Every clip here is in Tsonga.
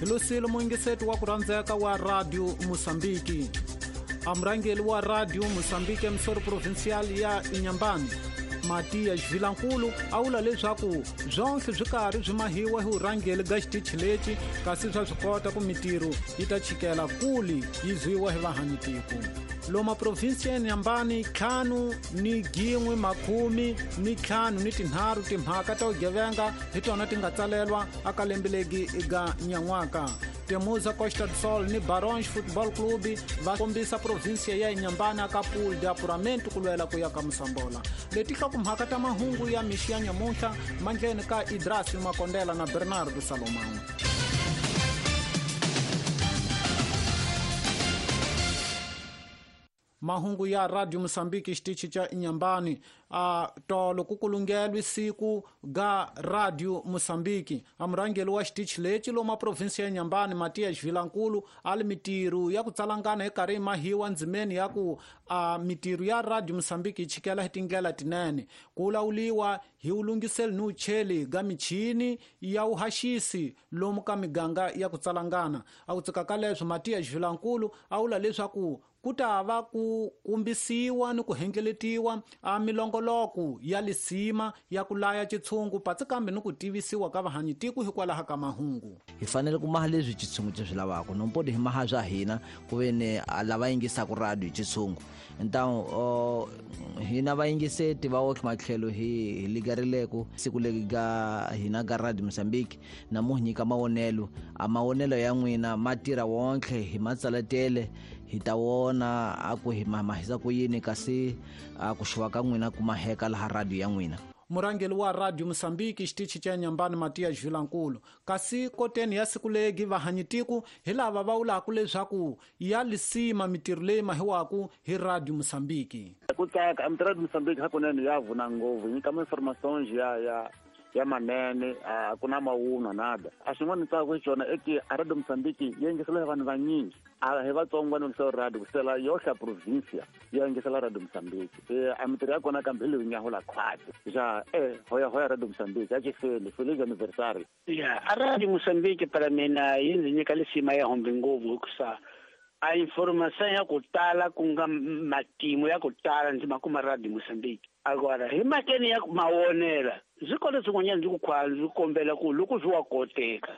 Hi losile muyingiseti wa ku rhandzeka wa Radio Mosambiki. A murhangeri wa Radio Mosambiki emisoro provincial ya Inhambane, Matias Vilankulu, a vula leswaku swonhle swi karhi swi mahiwa hi vurhangeri ga xitichi lexi, kasi swa swi kota ku mitirho yi ta chikela kuli yi zwiwa hi vahanyitiko. Loma provinsi ya Inhambane 5 1 53 timhaka ta vugevenga hi tona ti nga tsalelwa aka lembe legi ga nyan'waka. Temuza Costa do Sol ni Barões Football Club va kombisa provinsia ya Inhambane aka pool de apuramento ku lwela ku ya ka Mosambola. Leti hlokomhaka ta mahungu ya mixi ya nyamuntlha mandleni ka Idrasi Makondela na Bernardo Salomão. Mahungu ya Radio Mosambiki xitichi xa Inhambane. A tolo ku kulungelwe siku ga Radio Mosambiki. A murhangeri wa xitichi lexi loma provinsi ya Inhambane, Matias Vilankulu, a li mitirho ya ku tsalangana hi karhi yi mahiwa ndzimeni ya ku a mitirho ya Radio Mosambiki yi chikela hi tindlela tinene. Ku lawuliwa hi wulungiseli ni wucheli ga michini ya wuhaxisi lomu ka miganga ya ku tsalangana. A ku tsika ka leswo, Matias Vilankulu a vula leswaku ku ta va ku kumbisiwa ni ku hengeletiwa a milongoloko ya lisima ya ku laya xitshungu patsi kambe ni ku tivisiwa ka vahanyitiko hikwalaho ka mahungu. Hi fanele ku maha leswi xitshungu xi swi lavaka, nompoti hi maha swa hina ku ve ni lava yingisaka radio hi xitshungu. Ntawu hina vayingiseti va otlhe matlhelo hi ligarileko siku leri ga hina ga Radio Mozambique na mu nyika mavonelo. A mavonelo ya n'wina ma tirha wontlhe hi matsaletele, hi ta vona a ku hi mahisa ku yini, kasi a ku xuva ka n'wina ku maheka laha radio ya n'wina. Murhangeri wa Radio Mosambiki xitichi xa Inhambane, Matias Vilankulu. Kasi koteni ya siku legi vahanyitiko hi lava va vulaka leswaku ya lisima mitirho leyi mahiwaku hi Radio Mosambiki. Ku tsaka a Radio Mosambiki hakunene ya vuna ngopfu, yi nyika ma-informations ya manene, a ku na mawunwa nada. A xin'wana ni tsaka xona i ki a Radio Mosambiki yi yingisela hi vanhu vanyingi, a hi vatsongo va yingisela radio, kusela yohle provincia ya yingisela Radio Mosambiki. A mitirho ya kona kambe hi leyi nyahula khwati ja hoya hoya Radio Mosambiki a xi feli feliz anniversário. Ya, a Radio Mosambiki para mina yi ndzi nyika lisima ya hombe ngopfu, hikusa a information ya ku tala ku nga matimu ya ku tala ndzi ma kuma Radio Mosambiki. Agora hi makeni ya mawonela ndzi kona swin'wanyana ndzi ku khwa ndzi kombela ku loko swi wa koteka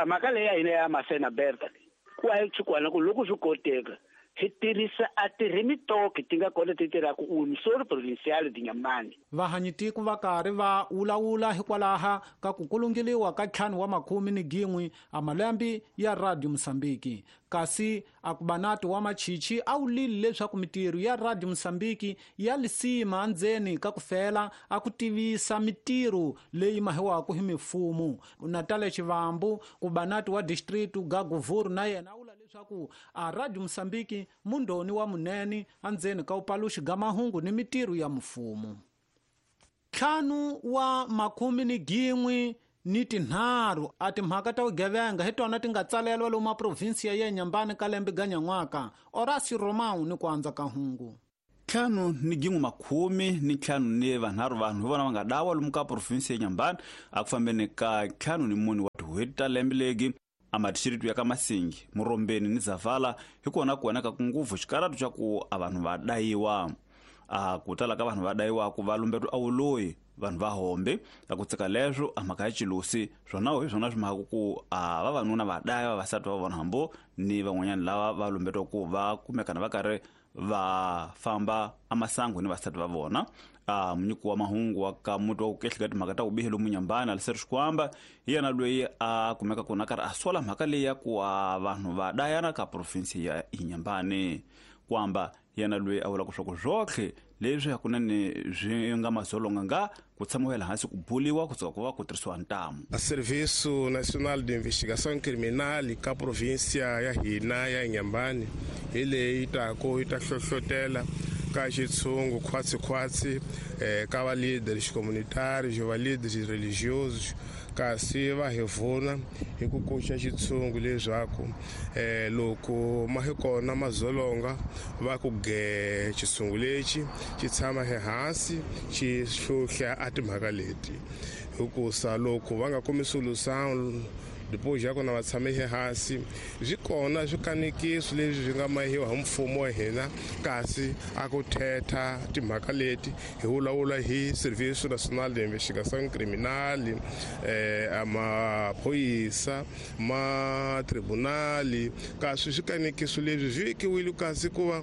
mhaka leyi ya hina ya Masena Berta ku a chikwana ku loko swi koteka hi tirhisa a tirhimitoki ti nga kona ti tirhaka unisoro provincial Inhambane. Vahanyitiko va karhi va wulawula hikwalaha ka ku kulungeliwa ka 51 a malembe ya Radio Mosambiki. Kasi akubanati wa machichi a wulile leswaku mitirho ya Radio Mosambiki ya lisima endzeni ka ku fela a ku tivisa mitirho leyi mahiwaka hi mifumo. Natalia Chivambu, kubanati wa district ga Govuro, na yena a vula leswaku a Radio Mosambiki mundhoni wa munene endzeni ka upaluxi ga mahungu ni mitirho ya mfumo. 51 a timhaka ta vugevenga hi tona ti nga tsalelwa lomu maprovinsiya ya Inhambane ka lembe ga nyan'waka. Horacio Romão ni ku andza ka hungu. 5 1 53 vanhu hi vona va nga dawa lomu ka provinsi ya Inhambane a ku fambeni ka 54 wa tin'hweti ta lembe legi. A madixiritu ya ka Masingi, Murombeni ni Zavala hi kona ku oneka ngopfu xikaratu xa ku a vanhu va dayiwa. A ku tala ka vanhu va dayiwaku va lumbeto a wuloyi vanhu va hombe a ku tsika leswo a mhaka ya xilusi swona hi swona swi mhaka ku a vavanuna va daya vavasati va vona hambo ni van'wanyana lava va lumbetiwa ku va kumekana va karhi va famba amasangu ni vasati va vona. A munyiki wa mahungu wa ka muti wa ku kehleka timhaka ta vubihi lomu Nyambana, Aliseri Xikwamba, hi yena loyi a kumeka kona karhi a sola mhaka leyi ya ku a vanhu va dayana ka provinsi ya Inhambane. Kwamba yena loyi a vulaka swa ku swotlhe leswi hakunene swi nga mazolonga nga ku tshamiwa hansi ku buliwa kusuka ku va ku tirhisiwa ntamu. A Serviço Nacional de Investigação Criminal ka província ya hina ya Inhambane hi leyi taku yi ta hlohlotela ka xitshungu khwatsi ka va leaders communitarios, va leaders religiosos, kasi va hi vuna hi ku koxa xitshungu leswaku loko ma hi kona mazolonga va ku ge xitshungu lexi xi tshama ehansi xi hluhla a timhaka leti, hikusa loko va nga kumi solução Depois ya kona va tshame hansi swi kona swikanekiso leswi swi nga mahiwa hi mfumo wa hina kasi a ku thetha timhaka leti hi vulavula hi Serviço Nacional de Investigação Criminal, maphoyisa ma tribunali kasi swikanekiso leswi swi vekiwile kasi ku va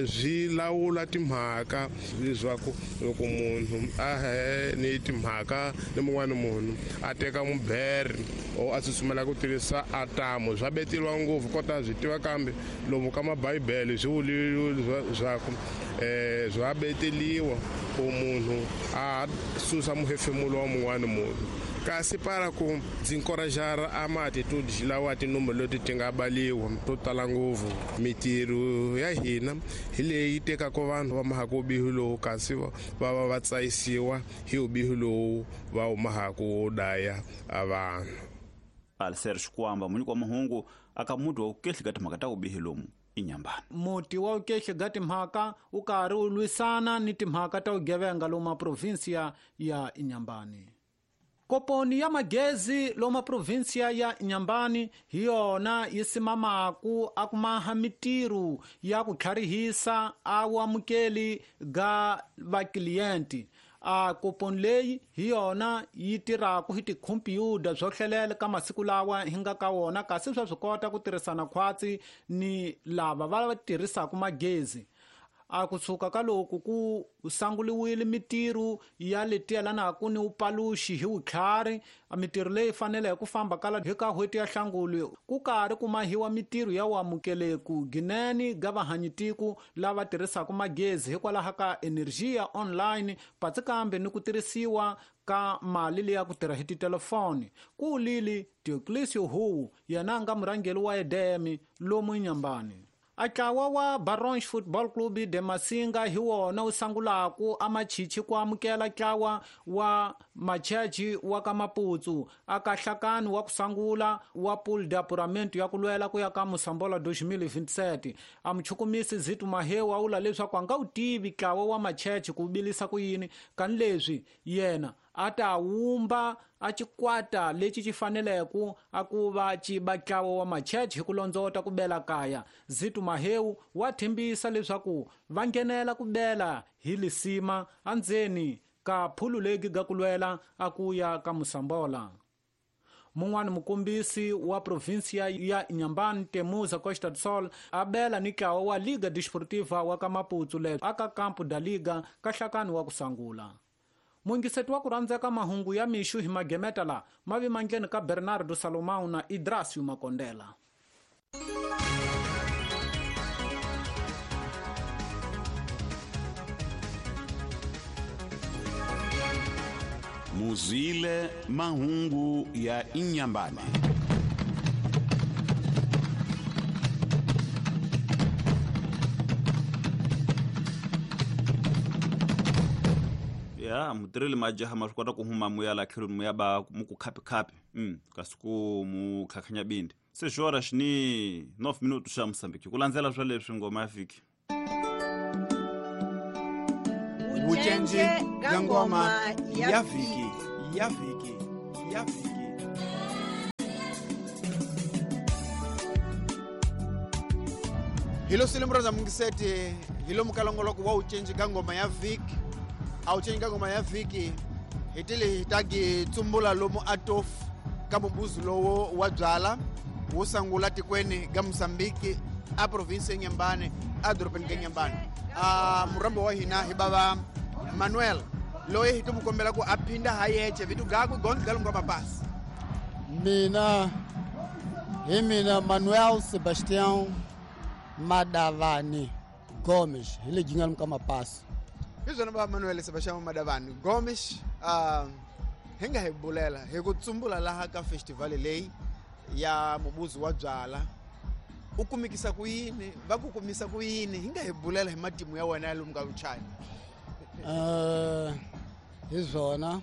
swi lawula timhaka leswaku loko munhu a he ni timhaka ni mun'wana munhu a teka mubere o a tsutsumela ku tirhisa atamu swa beteriwa ngopfu kota swi tiva kambe lomu ka mabhayibele swi vuliwe swaku swa beteliwa ku munhu a susa muhefemulo wa mun'wana munhu kasi para ku ndzi encourager a ma-attitude lawa tinomboro leti ti nga baliwa to tala ngopfu mitirho ya hina hi leyi tekaka vanhu va mahaka vubihi lowu kasi va va va tsayisiwa hi vubihi lowu va wu mahaka wo daya a vanhu. Alser Xikwamba munyiki wa mahungu aka muti wa vukehli ka timhaka ta vubihi lomu Inhambane. Muti wa vukehli ka timhaka wu karhi wu lwisana ni timhaka ta vugevenga lomu provinsia ya Inhambane. Koponi ya magezi loma provinsia ya Inhambane hi yona yi simamaku a kumaha mitirho ya ku tlharihisa a vuamukeli ga vaklienti. A koponi leyi hi yona yi tirhaku hi tikhompyuta byo hlelela ka masiku lawa hi nga ka wona kasi swa swi kota ku tirhisana khwatsi ni lava va tirhisaka magezi. A kusuka ka loko ku sanguliwile mitirho ya leti yelanaka ni upaluxi hi vutlhari, mitirho leyi faneleke ku famba kala hi ka n'hweti ya Hlanguli ku karhi ku mahiwa mitirho ya vuamukeleku ginene ga vahanyitiko lava tirhisaka magezi hikwalaho ka energia online patsi kambe ni ku tirhisiwa ka mali leyi ya ku tirha hi titelefoni. Ku lili Dioclesio Huwu yena a nga murhangeri wa EDM lomu Inhambane. A ntlawa wa Barons Football Club de Masinga hi wona wu sangulaku a machichi ku amukela ntlawa wa Machechi wa ka Maputsu a ka nhlakani wa ku sangula wa Pool de Apuramento ya ku lwela ku ya ka Mosambola 2027. A muchukumisi Zito Mahewu a vula leswaku a nga wu tivi ntlawa wa Machechi ku vilisa ku yini kani leswi yena a ta wumba a xikwata lexi xi faneleke a ku va xi ba ntlawa wa Machechi hi ku londzota ku bela kaya. Zito Mahewu wa tshembisa leswaku va nghenela ku bela hi lisima endzeni ka phulu legi ga ku lwela a ku ya ka Mosambola. Mun'wana mukombisi wa provinsia ya Inhambane Temuza Costa do Sol a bela ni ntlawa wa Liga Desportiva wa ka Maputsu leswi aka Campo da Liga ka nhlakani wa ku sangula. Mungiseti wa ku rhandzeka mahungu ya mixu hi magemeta la mavi mandleni ka Bernardo Salomão na Idrasio Makondela. Muzwile mahungu ya Inhambane. Ya mutirheli majaha ma swi kota ku huma muya la tlhelo muya ba mu ku khapi khapi kasi ku mu khakhanya bindi se xora xi ni 9 minuto xa Mozambique ku landzela swa leswi ngoma ya fiki. Vucenje ga ngoma ya vhiki ya vhiki ya vhiki. Hilo silimro za mungiseti hilo mukalongoloko wa ucenje ga ngoma ya vhiki. A ucenje ga ngoma ya vhiki hitili hitagi tsumbula lomu atof ka mubuzu lowo wa byala wo sangula tikweni ga Mozambique a province ya Inhambane a dorobeni ga Inhambane. A murambo wa hina hi bava Manuel loyi hi tumukombela ku a phinda ha yeche vitu gaku gondzi galunga mapasi. Mina hi mina Manuel Sebastião Madavani Gomes hi le ginga ka mapasi. Hi swona va Manuel Sebastião Madavani Gomes hi nga hi bulela hi ku tsumbula laha ka festival leyi ya mubuzu wa byala u kumikisa ku yini va ku kumisa ku yini hi nga hi bulela hi matimu ya wena ya lomu ka vuchaya. Hi swona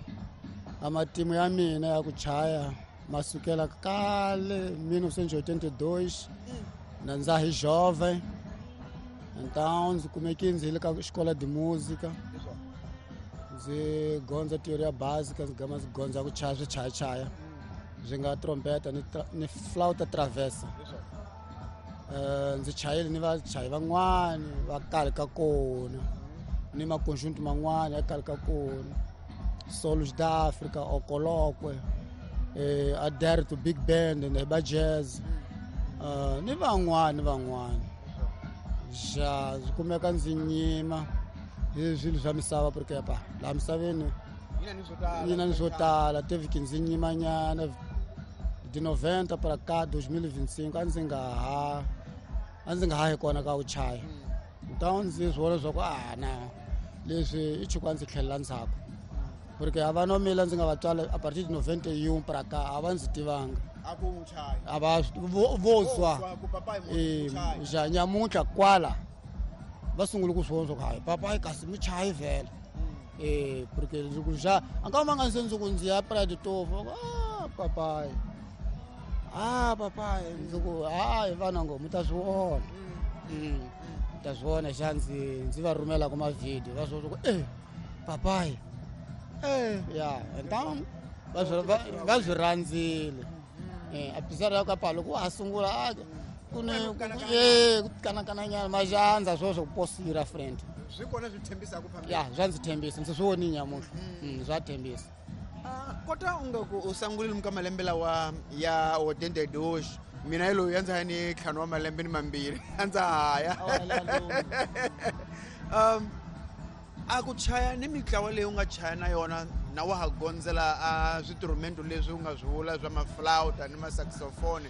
a matimu ya mina ya ku chaya masukela kale 1982 na ndza hi jovem então ndzi kumeke ndzi le ka xikola de música ndzi gondza teoria básica ndzi gama ndzi gondza ku chaya swichayachaya. Byi nga trompeta ni flauta traversa. Ndzi chayile ni vachayi van'wani va kale ka kona ni maconjunto man'wani ya kale ka kona, Solos da Africa, Okolokwe, Aderto Big Band na ba jazz, ni van'wani ja swi kumeka ndzi nyima hi swilo swa misava porque pa laha misaveni yina ni swo tala. Teve ndzi nyimanyana de 90 para cá 2025 a ndzi nga ha hi kona ka ku chaya. Então ndzi swi vona leswaku na leswi i chuku a ndzi tlhelela ndzhaku porque a va nomila ndzi nga va tswala a partir de 91 para cá a va ndzi tivanga a va vo zwa ja nyamuntlha kwala va sungule ku swi vona swa ku hayi papayi kasi mi chayi vhele. Porque ndzi ku ja a nga ma nga se ndzi ku ndzi ya Praia Tofu, papayi papayi ndzi ku hayi vana ngo mi ta swi vona, mi ta swi vona xa ndzi va rhumela ku mavhidiyo va swi vona ku papayi ya então va swi rhandzile. Apesar ya ka loko wa ha sungula ku ni ku kanakananyana majandza sweswo ku posira friend swi kona swi tshembisaka phambili ya swa ndzi tshembisa ndzi swi voni nyamuntlha swa tshembisa. Kota u nga ku u sungulile ka malembe lawa ya 82 mina loyi ya ndza ni 5 wa malembe ni mambirhi a ndza haya a ku chaya ni mitlawa leyi u nga chaya na yona na wa ha gondzela a switrumento leswi u nga swi vula swa maflauta ni masaxophone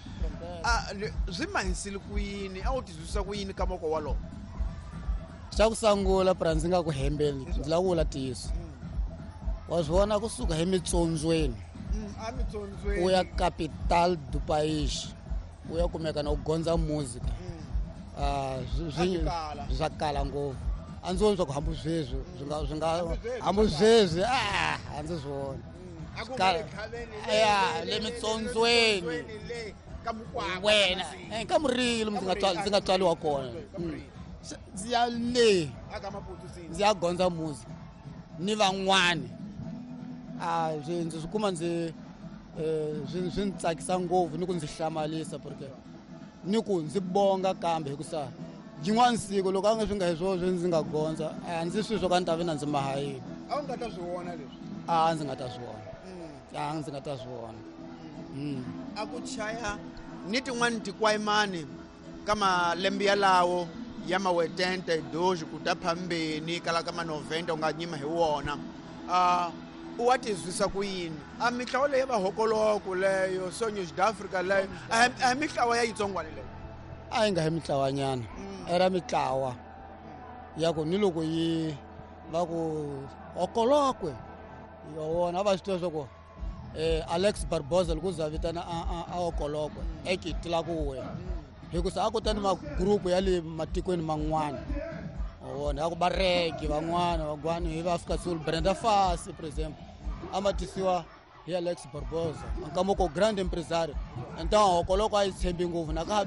swi mahisile ku yini a wu tizwisisa ku yini ka moko walowo? Xa ku sungula pra ndzi nga ku hembeli ndzi lava ku vula ntiyiso. Wa swi vona kusuka hi mitsondzweni u ya capital do país u ya kumeka na u gondza musica swa kala ngopfu. A ndzi voni swa ku hambi sweswi swi nga hambi sweswi a ndzi swi voni ya le mitsondzweni wena ka murilo ndzi nga tswaliwa kona ndzi ya le ndzi ya gondza music ni van'wani ndzi swi kuma ndzi swi ndzi tsakisa ngopfu ni ku ndzi hlamalisa porque ni ku ndzi bonga kambe hikusa yin'wana siku loko a nga swi nga hi swona ndzi nga gondza a ndzi swi swo ka ni ta vi na ndzi mahayini. A wu nga ta swi vona leswi? A ndzi nga ta swi vona, a ndzi nga ta swi vona. A ku chaya ni tin'wani tikwayimani ka malembe yalawo ya mawetente doji ku ta phambeni kala ka ma 90 u nga nyima hi wona u wa tizwisa ku yini? A mitlawa leyi va hokoloko leyo Sonhos da Africa leyo a mitlawa ya yitsongwana leyo a yi nga hi mitlawanyana era mitlawa ya ku ni loko yi va ku hokolokwe yo vona a va swi tiva swa ku Alex Barbosa loko za vitana a hokolokwe ekitila ku we hikusa a kota ni magrupu ya le matikweni man'wana vona ya ku va regi van'wana vagwani hi va Afrika Sul Brenda Fassie for example a ma tisiwa hi Alex Barbosa nkamoko grand empresario. Então hokoloko a yi tshembi ngopfu na ka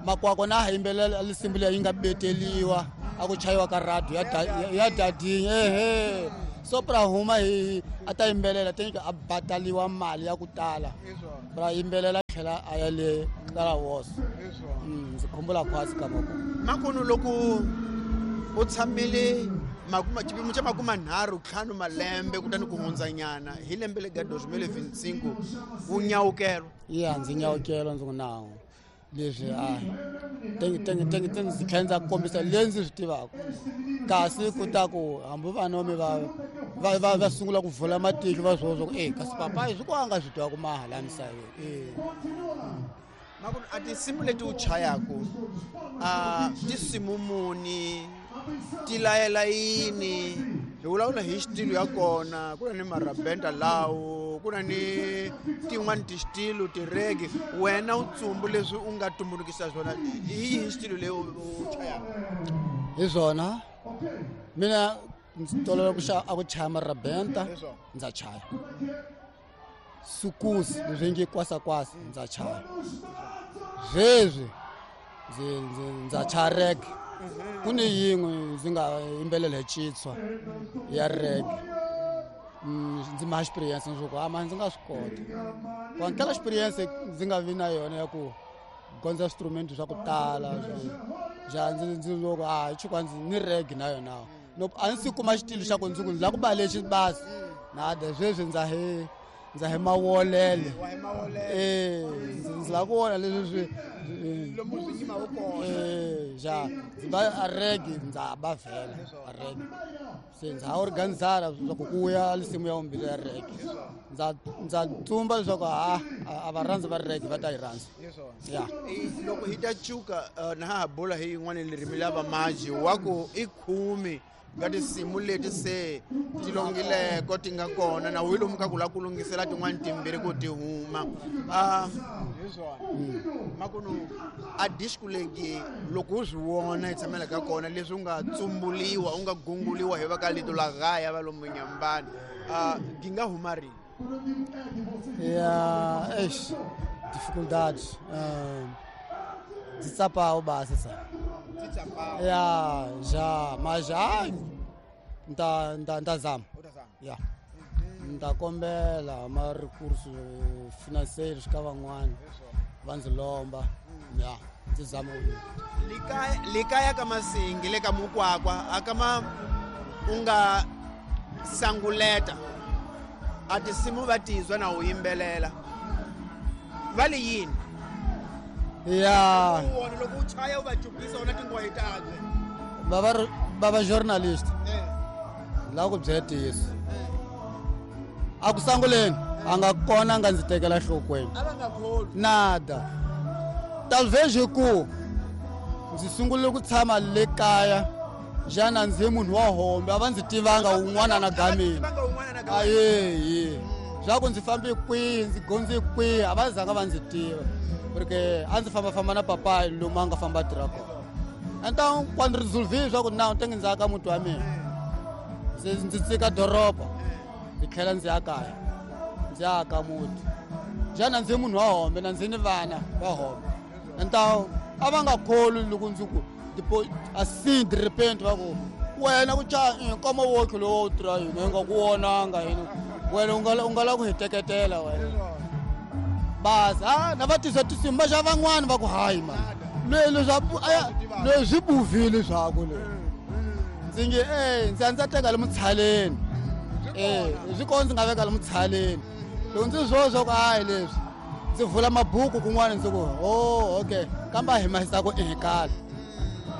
makwako na yimbelela lisimu leyi yi nga beteliwa a ku chayiwa ka radio ya dadinha ehe so pra huma hi a ta yimbelela tenke a bataliwa mali ya ku tala pra yimbelela tlhela a ya le kala woso. Ndzi khumbula khwasi ka moko makono loko u tshamile xipimo xa 35 malembe kutani ku hundzanyana hi lembe le ga 2025 wu nyawukelwa ya ndzi nyawukelwa ndzi ku nawu leswi a tenge ndzi tlhela ndza kombisa leyi ndzi swi tivaka kasi ku ta ku hambi vanomi va sungula ku vula matihlo va swi vona swa ku kasi papayi swi ku a nga swi tiva ku maha laha misaveni. Makunu a tinsimu leti u chayaku a tinsimu muni ti layela yini? Hi vulavula hi xitilo ya kona ku na ni marabenda lawo ku na ni tin'wani tixitilo tiregi wena u tsumbu leswi u nga tumbulukisa swona hi yihi xitilo leyi u chayaka hi swona? Mina ndzi tolovela ku a ku chaya marabenda ndza chaya sukusi leswi nge kwasakwasa ndza chaya sweswi ndza chaya rege ku ni yin'we ndzi nga yimbelela hi Chitswa ya rege. Ndzi ma experience swo ku ama ndzi nga swi kota. Kwantela experience ndzi nga vi na yona ya ku gondza instrument swa ku tala ja ndzi loko a chukwa ndzi ni reg na yona. No a ndzi kuma xitilo xa ku ndzi ku la ku ba lexi basi. Nada sweswi ndza he mawolele. Ndzi la ku vona leswi swi lomu swi yima wu kona. Ja ndzi ba a reg ndza ba vhela a reg. Se ndza organizara swa ku kuya lisimu ya umbili ya reg. Ndza tsumba leswaku a va rhandzi va reg va ta yi rhandza. Ya. Loko hi ta cuka na ha bula hi yin'wana ririmi la vamaji wa ku i khumi nga tinsimu leti se ti longileko ti nga kona na wu lomu ka ku la ku lunghisela tin'wani timbirhi ku ti huma. Hi swona makunu a disco legi loko u swi vona hi tshamela ka kona leswi u nga tsumbuliwa u nga gunguliwa hi va ka lito la gaya va lomu Nyambani gi nga huma rini? Ya, eish, dificuldades. Ndzi tsapawu basi sa. Ya, já, mas já nda zama. Ya. Nda kombela ma recurso financeiros ka van'wana va ndzi lomba. Ya, ndzi zama ku likaya ka Masingi le ka Mukwakwa akama u nga sanguleta a tinsimu va tizwa na u yimbelela va li yini? Ya. Loko u chaya u va cupisa wona tingwahi tabye. Baba journalist. La ku byela ntiyiso. A ku sanguleni a nga kona a nga ndzi tekela nhlokweni. A va nga kholwi. Nada. Talvez ku ndzi sungule ku tshama le kaya xana ndzi munhu wa hombe a va ndzi tivanga un'wana na gamini. Aye. Swa ku ndzi fambe kwihi ndzi gondze kwihi a va zanga va ndzi tiva. Porque a ndzi fambafamba na papai lomu a nga famba tirha kona. Então quando resolvi swa ku na tenge ndzi aka muti wa mina. Ndzi tsika doroba ndzi tlhela ndzi ya kaya. Ndzi aka muti. Xana ndzi munhu wa hombe na ndzi ni vana va hombe. Então a va nga kholwi loko ndzi ku depois assim de repente va ku wena ku cha nkoma wokhe lowo wu tirha yini hi nga ku vonanga yini wena u nga la ku hi teketela wena. Basi na va tisa tinsimu va xa van'wani va ku hayi mani leswi swi buvile swaku leswi. Ndzi nge ndzi ya ndzi teka le mutshaleni. Swi kona ndzi nga veka le mutshaleni. Loko ndzi swi vona swa ku hayi leswi ndzi vula mabuku kun'wana ndzi ku oh okay kambe a hi mahisa ku ehekala.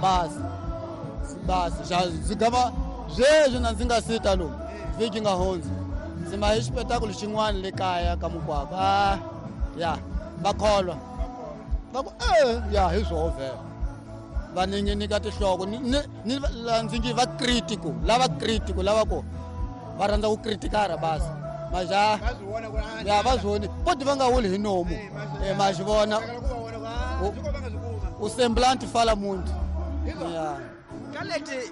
Basi basi ndzi gava sweswi na ndzi nga sita lomu vhiki nga hundzi ndzi ma hi xipetakulu xin'wana le kaya ka Mukwakwa. Ya va kholwa va ku ya hi swoho vhele va ninginika tinhloko ni ndzi nge va critical lava critical lava ku va rhandza ku critikara basi maja ya va swi voni poti va nga wuli hi nomu ma swi vona u semblante fala muntu. Ya. Ka leti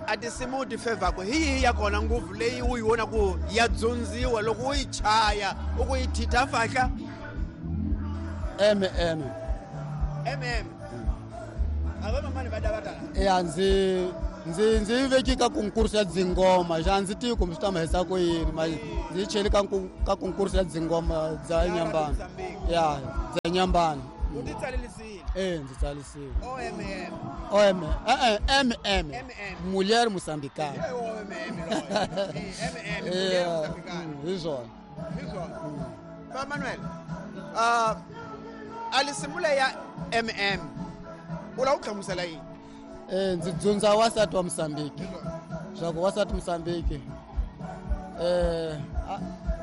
a tinsimu ti fevhako hi yihi ya kona ngopfu leyi u yi vona ku ya dzundziwa loko u yi chaya u ku yi thitha fahla? MM. MM. A va mamani va dava tala. Ya ndzi yi veki ka konkurso ya dzingoma xa ndzi tivi kumbe swi ta mahisa ku yini ma ndzi yi cheli ka konkurso ya dzingoma bya Nyambani. Ya bya Nyambani. U ti tsalelisile? Ndzi tsalisile. OMM. OM MM. Mulher Moçambicana. OMM. MM Mulher Moçambicana. Hi swona. Hi swona. Ba Manuel. A lisimu leyi ya MM u lava ku hlamusela yini? Ndzi dzundza wasati wa Mozambique. Swa ku wasati Mozambique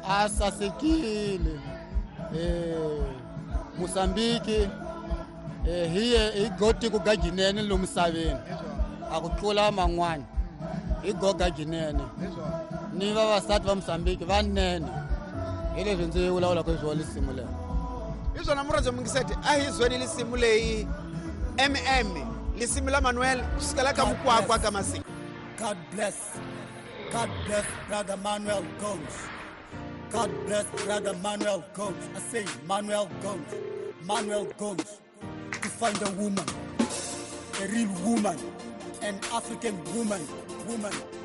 a sasekile. Mozambique hi gotiko ga ginene lomu misaveni a ku tlula man'wana hi goga ginene ni vavasati va Mozambique vanene hi leswi ndzi vulavulaka hi swona lisimu leri. Hi swona murhandzi mungiseti a hi zweni lisimu leyi MM lisimu la Manuel kusukela ka Mukwakwa ka Masingi. God bless. God bless brother Manuel Gomes. God bless brother Manuel Gomes. I say Manuel Gomes. Manuel Gomes. To find a woman, a real woman, an African woman, woman.